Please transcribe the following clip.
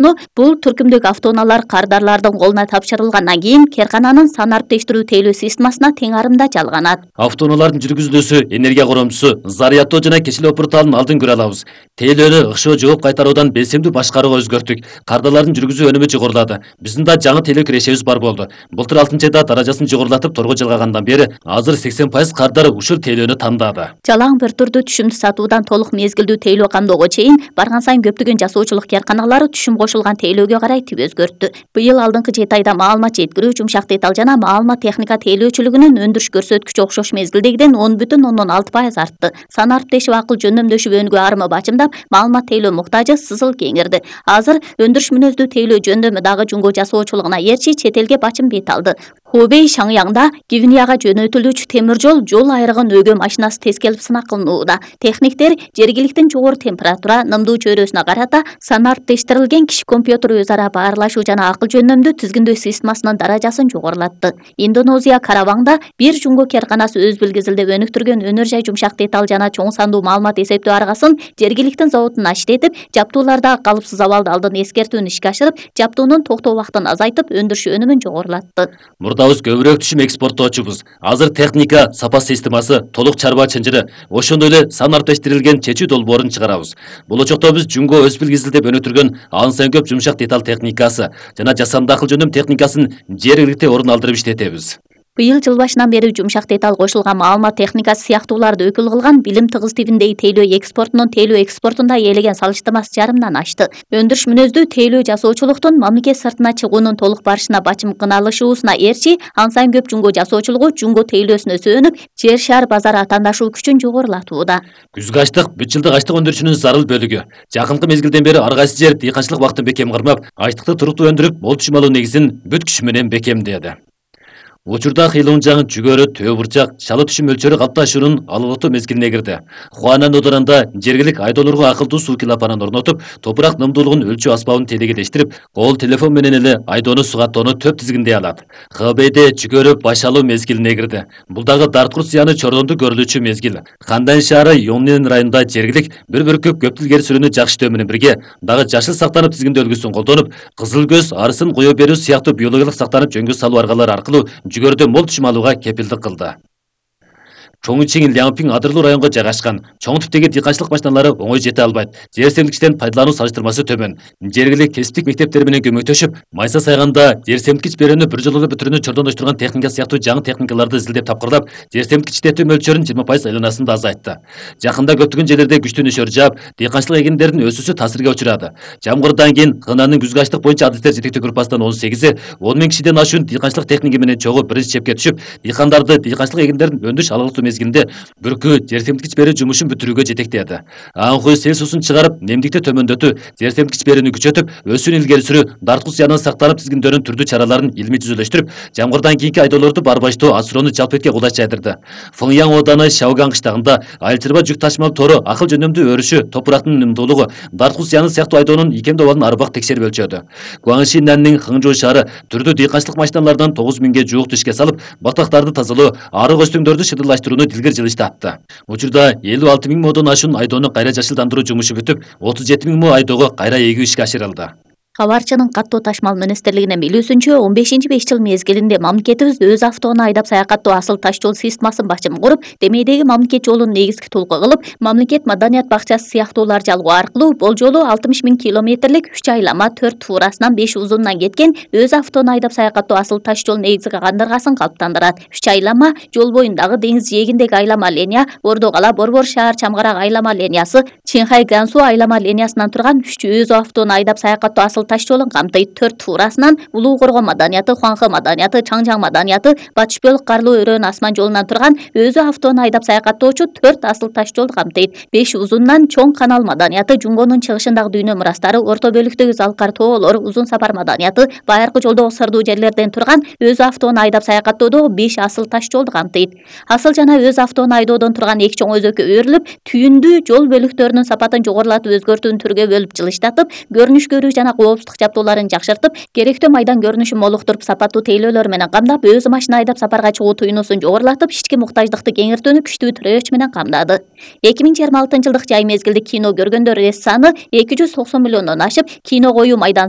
Бул түркүмдүк автоунаалар кардарлардын колуна тапшырылгандан кийин керкананын санариптештирүү тейлөө системасына тең арымда жалганат. Автоунаалардын жүргүзүлүүсү, энергия коромчусу, зарядтоо жана кечилүү порталын алдын көрө алабыз. Тейлөөнү ыкшоо жооп кайтаруудан белсемдүү башкарууга өзгөрттүк. Кардарлардын жүргүзүү өнүмү жогорулады. Биздин да жаңы тейлөө кирешебиз бар болду. Былтыр 6-айда даражасын жогорулатып торго жылгагандан бери азыр 80% кардар ушул тейлөөнү тандады. Жалаң бир түрдүү түшүмдүү сатуудан толук мезгилдүү тейлөө камдоого чейин барган сайын көптөгөн жасоочулук карканалары түшүм кошулган тейлөөгө карай тип өзгөрттү. Быйыл алдыңкы 7 айда маалымат жеткирүү, жумшак деталь жана маалымат техника тейлөөчүлүгүнүн өндүрүш көрсөткүчү окшош мезгилдегиден 10,6% артты. Санариптешип акыл жөндөмдөшүп өнүгүү арымы бачымдап, маалымат тейлөө муктажы сызыл кеңирди. Азыр өндүрүш мүнөздүү тейлөө жөндөмү дагы жумго жасоочулугуна ээрчи чет элге бачым бет алды. Хубей Шаңяңда Гвинеяга жөнөтүлүүчү темир жол айрыгын өөгө машинасы тескелип сынак кылынууда. Техниктер жергиликтин жогору температура, нымдуу чөйрөсүнө карата санариптештирилген киши компьютер өз ара баарлашуу жана акыл жөндөмдүү тизгиндөө системасынын даражасын жогорулатты. Индонезия Караваңда бир жумго керканасы өз билгизилдеп өнүктүргөн өнөр жай жумшак деталь жана чоң сандуу маалымат эсептөө аргасын жергиликтин заводун иштетип, жаптуулардагы калыпсыз абалды алдын эскертүүнү ишке ашырып, жаптуунун токтоо убактын азайтып, өндүрүш өнүмүн жогорулатты. Мурдабыз көбүрөөк түшүм экспорттоочубуз. Азыр техника, сапа системасы, толук чарба чынжыры, ошондой эле санариптештирилген чечүү долбоорун чыгарабыз. Болочокто биз жумго өз билгизилдеп өнүктүргөн ан сайын көп жумшак деталь техникасы жана жасанды акыл жөндөм техникасын жергиликте орун алдырып иштетебиз. Быйыл жыл башынан бери жумшак деталь кошулган маалымат техникасы сыяктууларды өкүл кылган билим тыгыз типиндеги тейлөө экспортунун тейлөө экспортунда ээлеген салыштырмасы жарымдан ашты. Өндүрүш мүнөздүү тейлөө жасоочулуктун мамлекет сыртына чыгуунун толук барышына бачым кыналышуусуна ээрчи, ан сайын көп жумго жасоочулугу жумго тейлөөсүнө сөөнүп, жер шаар базары атаандашуу күчүн жогорулатууда. Күзгү ачлык бүт жылдык ачлык өндүрүшүнүн зарыл бөлүгү. Жакынкы мезгилден бери ар кайсы жер дыйканчылык убактын бекем кырмап, ачлыкты туруктуу өндүрүп, мол түшүм алуу негизин бүт күчү менен бекемдеди. Учурда кыйлуунжаң, жүгөрү, төө бурчак, шалы түшүм мөлчөрү калыпташуунун алгылыктуу мезгилине кирди. Хуанан оорунда жергилик айдоолорго акылдуу суу килапанын орнотуп, топурак нымдуулугун өлчөө аспабын телегелештирип, кол телефон менен эле айдоону сугаттоону төп тизгиндей алат. Хбейде жүгөрү баш алуу мезгилине кирди. Бул дагы Дарткут зыяны чордондо көрүлүүчү мезгил. Хандан шаары Йоннин районунда жергилик бір бүркүп көптүл керсүрүүнү жакшытөө менен бирге дагы жашыл сактанып тизгиндөө үлгүсүн колдонуп, кызыл көз, арысын кое берүү сыяктуу биологиялык сактанып жөнгө салуу аргалары аркылуу жүгөрүдө мол түшүм алууга кепилдик кылды. Чоңчиң Лямпиң адырлуу районго жайгашкан. Чоң типтеги дыйканчылык машиналары оңой жете албайт. Жер семирткичтен пайдалануу салыштырмасы төмөн. Жергилик кесиптик мектептер менен көмөктөшүп, майса сайганда жер семирткич берүүнү бир жолу бүтүрүүнү чордондоштурган техника сыяктуу жаңы техникаларды изилдеп тапкырлап, жер семирткич иштетүү мөлчөрүн 20% айланасын да азайтты. Жакында көптөгөн жерлерде күчтүү нөшөр жаап, дыйканчылык эгиндердин өсүүсү таасирге учурады. Жамгырдан кийин КНАнын күзгү ачлык боюнча адистер жетектөө группасынан 18-и 10 000 кишиден ашуун дыйканчылык техника менен чогуу биринчи чепке түшүп, дыйкандарды дыйканчылык эгиндердин өндүрүш алгылыктуу мезгилинде бүркү жер семирткич берүү жумушун бүтүрүүгө жетектеди. Аңкуй сел суусун чыгарып, немдикти төмөндөтүү, жер семирткич берүүнү күчөтүп, өсүүнү илгери сүрүү, Дарткут зыянын сактанып тизгиндөөнүн түрдүү чараларын илмий жүзөлөштүрүп, жамгырдан кийинки айдоолорду барбаштоо асуроону жалпы этке кулай чайдырды. Фыңяң ооданы Шаоган кыштагында айыл-чарба жүк ташымал тору акыл жөндөмдүү өрүшү, топурактын нымдуулугу, Дарткут зыяны сыяктуу айдоонун икемдөө абалын арбак текшерип өлчөдү. Гуаншиннанын Хыңжуу шаары түрдүү дыйканчылык машиналардан 9 000ге жуук ишке салып, батактарды тазалоо, арык өстүңдөрдү шыдырлаштырууну дилгер жылыштатты. Учурда 56 000 модон ашуун айдоону кайра жашылдандыруу жумушу бүтүп, 37 000 мо айдоого кайра эгүү ишке ашырылды. Кабарчынын каттоо ташмал министрлигинин билүүсүнчө 15-5 жыл мезгилинде мамлекетибиз өз автоунаа айдап саякаттоо асыл таш жол системасын башым куруп, Демейдеги мамлекет жолун негизги толку кылып, мамлекет маданият бакчасы сыяктуулар жалгоо аркылуу бул жолу 60 000 километрлик 3 айлама 4 туурасынан 5 узунунан кеткен өз автоунаа айдап саякаттоо асыл таш жол негизги кандыргасын калыптандырат. 3 айлама жол боюндагы деңиз жээгиндеги айлама линия, Ордокала Борбор шаар чамгарак айлама линиясы, Чинхай Гансу айлама линиясынан турган 3 өз автоунаа айдап саякаттоо асыл таш жолун камтыйт. 4 туурасынан Улуу Корго маданияты, Хуанхэ маданияты, Чаңжаң маданияты, Батыш Бөлүк Карлуу өрөөн асман жолунан турган өзү автоунаа айдап саякаттоочу 4 асыл таш жол камтыйт. 5 узунунан Чоң канал маданияты, Жунгонун чыгышындагы дүйнө мурастары, орто бөлүктөгү Залкар тоолор, Узун сапар маданияты, байыркы жолдогу сырдуу жерлерден турган өзү автоунаа айдап саякаттоодо 5 асыл таш жолду камтыйт. Асыл жана өз автоунаа айдоодон турган эки чоң өзөккө өөрүлүп, түйүндүү жол бөлүктөрүнүн сапатын жогорулатып өзгөртүүнү түргө бөлүп жылыштатып, көрүнүш көрүү жана кооп автобустук жабдууларын жакшыртып, керектүү майдан көрүнүшүн молуктуруп, сапаттуу тейлөөлөр менен камдап, өзү машина айдап сапарга чыгуу туюнусун жогорулатып, ички муктаждыкты кеңиртүүнү күчтүү тирөөч менен камдады. 2026-жылдык жай мезгилдик кино көргөндөр саны 290 миллиондон ашып, кино коюу майдан